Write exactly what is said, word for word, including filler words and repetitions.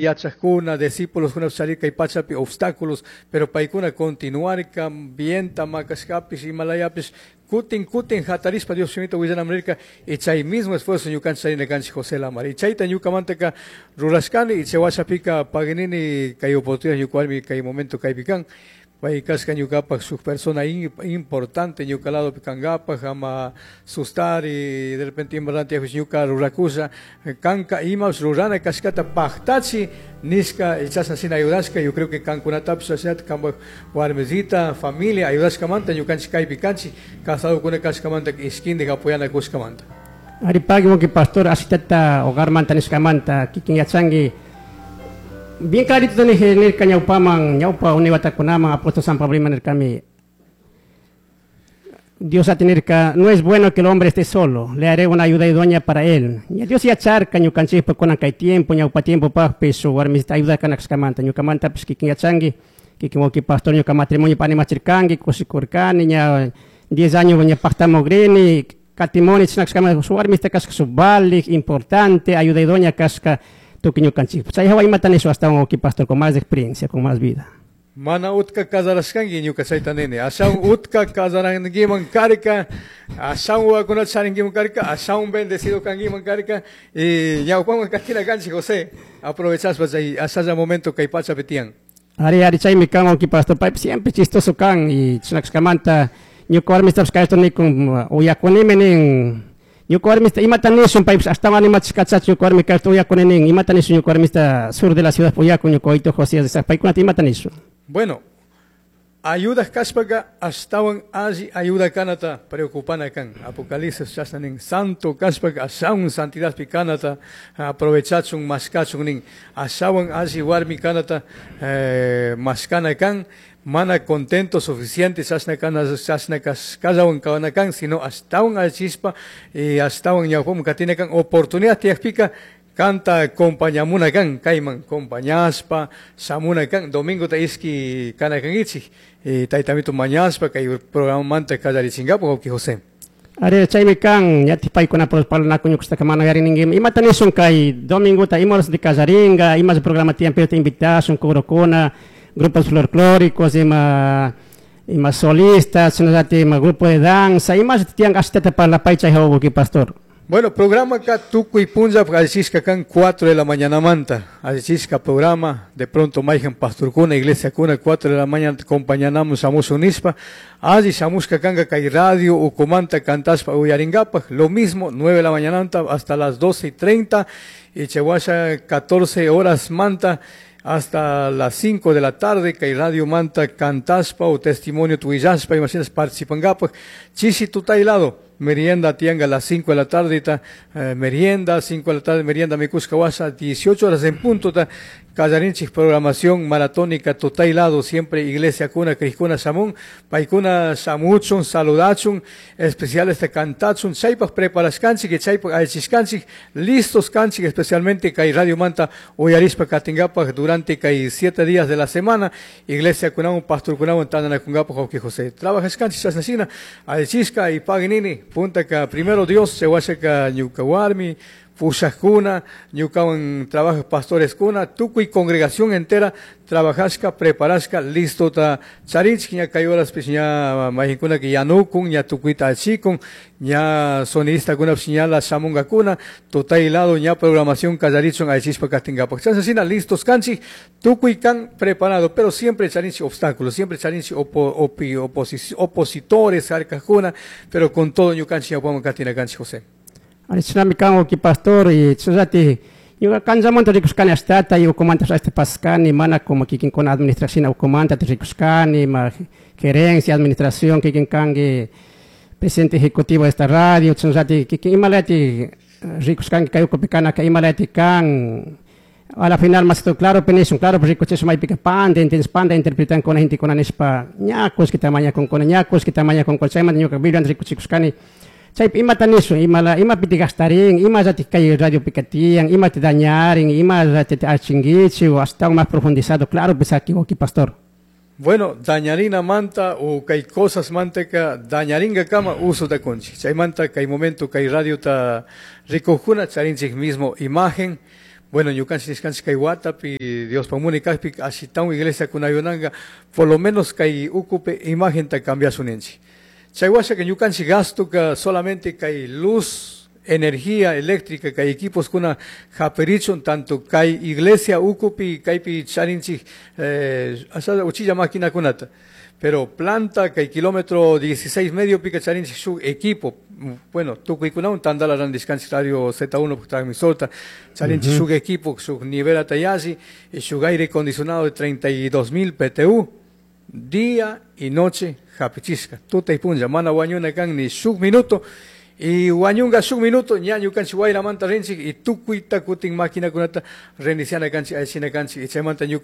Yachajkuna, discípulos kuna kay pachapi obstáculos, pero paykuna continuarka vienta makashkapish, imalayapish, kutin kutin hatarispa Dios shimita willanaman rirka, y chay mismo esfuerzo ñukanchik charina kanchik José Lamar. Y chayta ñukamantaka rurashkani, y chay washapika paginini kay oportunidad ñuka warmi kay momento kaypi kan. Pay kashka ñukapak shuk persona importante ñuka ladopi kankapak, ama sustar y de repente ima tiyakpish ñuka rurakusha, kanka imapish rurana kashkata paktachi nishka, y chashna shina ayudashka. Yo creo que kankunatapish ashinata kanpak warmisita, familia ayudashkamanta ñukanchik kaypi kanchik, casadokuna kashkamanta ishkindik apoyana kushkamanta. Ari pagui wawki pastor, ashitata hogarmanta nishkamanta kikin yachanki bien clarito nirka nirka ñawpaman, ñawpa unay watakunaman apóstol San Pablo ima nirkami: Dios nirka, "No es bueno que el hombre esté solo, le haré una ayuda idónea para él." Y Dios yacharka ñukanchikpa kunan kay tiempo, ñawpa tiempo pakpish shuk warmisita ayuda kana kashkamanta. Ñukamantapish kikin yachanki, kikin wawki pastor ñuka matrimonio animachirkanki, kushikurkani, ña diez años ña paktamugrini, katimoni chashna kashkamanta shuk warmista kashka shuk valik, importante, ayuda idónea kashka tukuy ñukanchikpa. Chay hawa imata nishu astawan wawki pastor con más experiencia, con más vida. Mana utka casarashkanki ñuka chayta nini. Ashawan utka casarankiman karka, ashawan wawakunata charinkiman karka, ashawan bendecido kankiman karka. Y ñawpaman katina kanchik José, aprovechaspa chay ashalla momento kay pachapi tiyan. Ari, ari, chaymi kan wawki pastor, paypish siempre chistoso kan y chashna kashkamanta ñuka warmistapish kayto nikun uyakunimi nin. Ñuka warmista imata nishun paypish ashtawan animachishkachachu ñuka warmi kayta uyakuni nin, imata nishun ñuka warmista sur de la ciudad uyakun ñuka wawito Josías, paykunata imata nishun. Bueno, ayuda kashpaka ashtawan alli ayuda kanata preocupana kan. Apocalipsis chashna nin, santo kashpaka ashawan santidadpi kanata aprovechachun mashkachun nin, ashawan alli warmi kanata eh, mashkana kan, mana contento suficiente chashna kana chashna kashkallawan kana kan, sino ashtawan allichispa y ashtawan ñawpaman katina kan oportunidad tiyakpika kanta acompañamuna kan, kayman compañaspa shamuna kan, domingo ta iski kana kankichik y taytamito mañaspa kay programamanta kallarichinkapuk wawki José. Ari, chaymi kan ñatik paykuna parlanaku ñukushtaka mana yarininki imata nishun kay domingota ima horas de kallaringa, ima programa tiyan, pero te invitashun corokuna, grupos folclóricos, ima ima solistas, shinallatik ima grupo de danza, ima tiyan ashtata parlapay chay hawa wawki pastor. Bueno, programa acá tukuy punlla allichishka kan cuatro de la mañana manta. Allichishka programa, de pronto mayhan pastorkuna, iglesia kuna, cuatro de la mañana acompañanamos shamushun nishpa. Alli shamushka kanka kay radio ukumanta kantashpa uyarinkapak. Lo mismo, nueve de la mañana hasta las doce y treinta y chawasha catorce horas manta hasta las cinco de la tarde kay radio manta kantashpa o testimonio tuillashpa imaginas participankapak. Chishi tutay lado. Merienda tianga a las cinco de la tarde, ta, eh, merienda, cinco de la tarde, merienda mikushka washa, dieciocho horas en punto, ta, kallarinchik programación maratónica tutay lado, siempre iglesia kuna, krikuna shamun, paykuna shamuchun, saludachun, especial este kantachun, chaypak preparashkanchik, chaypak allichishkanchik, listos kanchik, especialmente kay Radio Manta uyarispa katinkapak durante kay siete días de la semana, iglesia kunawan, pastor kunawan, tandanakunkapak, wawki José. Trabajashkanchik chashna shina, allichishka y paginini, puntaka primero Dios, chawashaka ñuka warmi, pushajkuna, ñukawan trabaja pastores kuna, tukuy congregación entera trabajashka, preparashka, listo ta charinchik ña kay horas pish ña mayqinkuna que yanukun, ña tukuyta achikun, ña sonidista kuna ña la shamunkakuna, tutay lado ña programación kallarichun allichishpa katinkapak. Chashna shina listos kanchik, tukuy kan preparado, pero siempre charinchik obstáculos, siempre charinchik opo, opi, oposi, opositores, harkajkuna, pero con todo ñukanchik ñawpaman katina kanchik, José. Ari, chashnami kan wawki pastor y chashnallati ñuka kanllamanta rikushkani ashtata y ukumanta ashta paskani mana como kikinkuna administración ukumanta rikushkani ma gerencia, administración, kikin kanki presidente ejecutivo de esta radio, chashnallati kikin imalati rikushkanki kay ukupi kanaka imalati kan a la final más todo claro penishun claro rikuchishun maypika panda entiendes panda interpretan con gente con nishpa ña kullkita mañakunkuna ña kullkita mañakunkuna chaymanta ñuka Biblia rikuchikushkani chaypi imata nishun imala imapiti gastarin imallatik kay radiopika tiyan imata dañarin imallati achinkichik o astawan más profundizado claro pues aquí wawki pastor. Bueno, dañarina manta o kay cosas manteka dañaringa kama uso da kunchik. Chaymanta kay momento kay radio ta rikujkuna charinchik mismo imagen, Bueno, ñukanchik nishkanchik kay watapi Diospaj munay kajpi ashitawan iglesiakunayunanka por lo menos kay ukupi imagenta cambiashun ninchik. Chay washaka ñukanchik gastoka solamente kay luz, energía eléctrica kay equipos kuna japirichun tanto kay iglesia ukupi kaypi charinchik eh, uchilla maquinakunata. Pero planta kay kilómetro dieciséis medio pika charinchik shuk equipo, bueno, tukuykunawan tandala randishkanchik radio Z uno transmisorta, charinchik shuk equipo, shuk nivelata yalli, y shuk aire acondicionado de treinta y dos mil B T U, día y noche hapichishka, tuta y punlla, mana wañuna kan ni shuk minuto, y wañunga shuk minuto, ña ñukanchik wayramanta rinchik y tukuyta kutin maquinakunata reiniciana kanchik, allichina kanchik, y chaymanta ñuka